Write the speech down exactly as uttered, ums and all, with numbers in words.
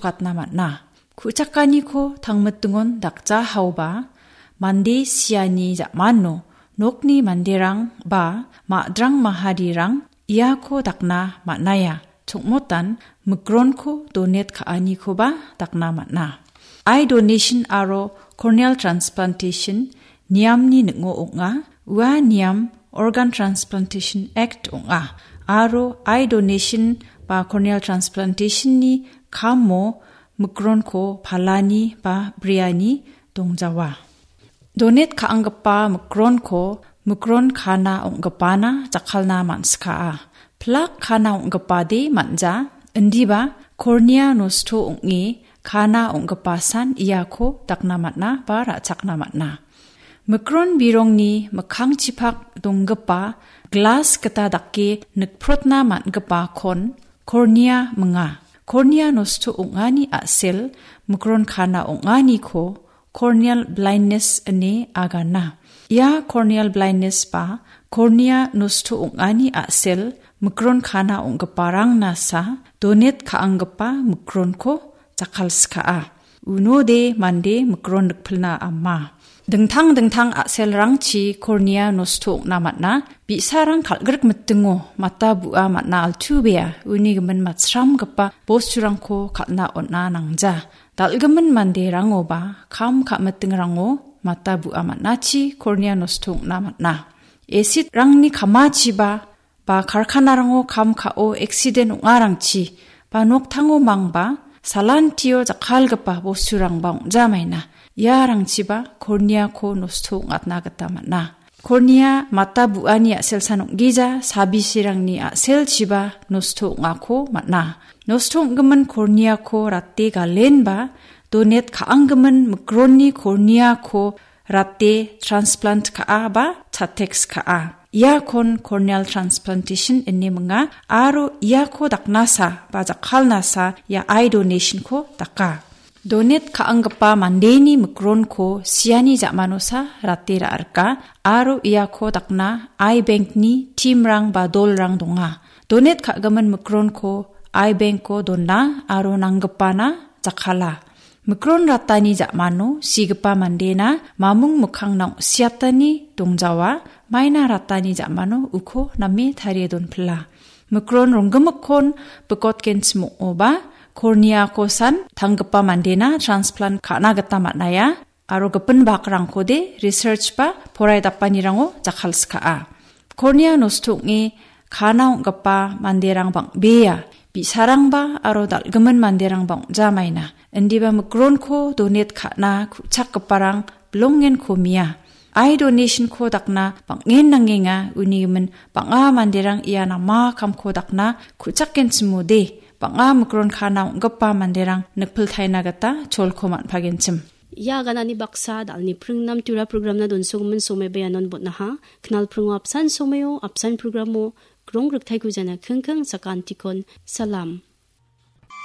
gatna man·a. Ku·chakaniko tangmitingon dakja haoba, mande siani ja·mano nokni manderang ba ma·drang maharirang iako dakna man·aia. Chongmotan mikronko donate ka·anikoba dakna man·a. Eye donation aro corneal transplantation niamni ning·o ong·a. Ua niam Organ Transplantation Act ong·a. Aro eye donation ba corneal transplantation-ni kamo mikronko palani ba briani dongjawa. Donate ka·anggipa mikronko mikron kana ong·gipana jakkalna man·skaa. Plak kana ong·gipade man·ja, indiba kornia nosto ong·e kana ong·gipasan iako dakna man·a ba ra·chakna man·a. Mikron birongni mikkangchipak donggipa glas gita dake nikprotna man·gipakon kornia minga. Kornia nosto ong·ani a·sel mikron kana ong·aniko corneal blindness ine agana. Ia corneal blindness ba kornia nosto ong·ani a·sel mikron kana ong·giparang nasa donate ka·anggipa mikronko jakkalskaa. Unode mande mikron nikpilna ama. Dingtang dingtang a·selrangchi kornia nosto ong·na man·a. Bi·sarang kal·grik mitingo mata bu·a man·a altuebea uni gimin matsramgipa bosturangko kal·na on·a nangja. Dal·gimin manderangoba kam ka·mitingrango mata bu·a man·achi kornia nosto ong·na man·a. Acid-rangni kamachiba ba karkanarango kam ka·o accident ong·arangchi ba noktango mangba salantio jakkalgipa bosturangba ong·jamaina. Iarangchiba korniako nosto ong·atna gita man·a. Kornia mata bu·ani a·selsan ong·gija sabisirangni a·selchiba nosto ong·ako man·a. Nosto ong·gimin korniako rate galenba donate ka·anggimin mikronni korniako rate transplant ka·a ba chateks ka·a. Iakon corneal transplantation ine minga aro iako daknasa ba jakkalnasa ia eye donation-ko daka. Donate ka·anggipa mandeni mikronko siani ja·manosa rate ra·rika aro iako dakna eye bank-ni team-rang ba dolrang donga. Donate ka·gimin mikronko eye bank-o dona aro nanggipana jakkala. Mikron ratani ja·mano sigipa mandena mamung mikkangna ong·siatani dongjawa, maina ratani ja·mano uko name tarie donpila. Mikron ronggimikkon bikotgenchim ong·oba, korniako san tanggipa mandena transplant ka·na gita man·aia, aro gipin bakrangkode research ba porai dapanirango jakkalskaa. Kornia nosto ong·e kana ong·gipa manderang bang·bea, bi·sarangba aro dal·gimin manderangba ong·jamaina. Indiba mikronko donate ka·na ku·chakgiparang bilongen komia. Eye donation-ko dakna bang·en nangenga, uni gimin bang·a manderang ia nama kamko dakna ku·chakgenchimode, bang·a mikron kana ong·gipa manderang nikpiltaina gita cholko man·pagenchim. Ia aganani baksa dalni pringnam tura programna donsogimin somaiba ianon botnaha. Knal pringo apsan somaio, apsan programo, grong riktaiko jana kingking sakantikon. Salam.